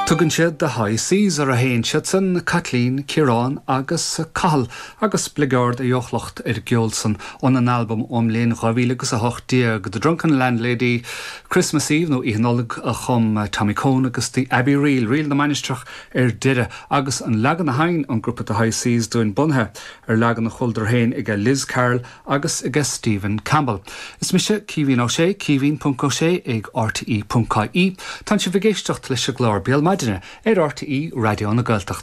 Tugann siad The High Seas orthu féin, siadsan Caitlín, Ciarán agus Cathal, agus bligeard a dheochlacht ar an gceol san óna n-albam ón mbliain 2018, The Drunken Landlady, Christmas Eve nó Oíche Nollag a chum Tommy Coen agus The Abbey Reel, Ríl na Mainistreach ar deireadh, agus an leagan a sheinn an grúpa The High Seas dúinn bunaithe ar leagan a chualadar féin aige Liz Carroll agus aige Stephen Campbell. Is mise Caoimhín Ó Sé, caoimhín ponc ó sé ag rte ponc ie. Tánn sibh ag éisteacht leis an gclár Béal Maidine ar RTÉ Raidió na Gaeltachta.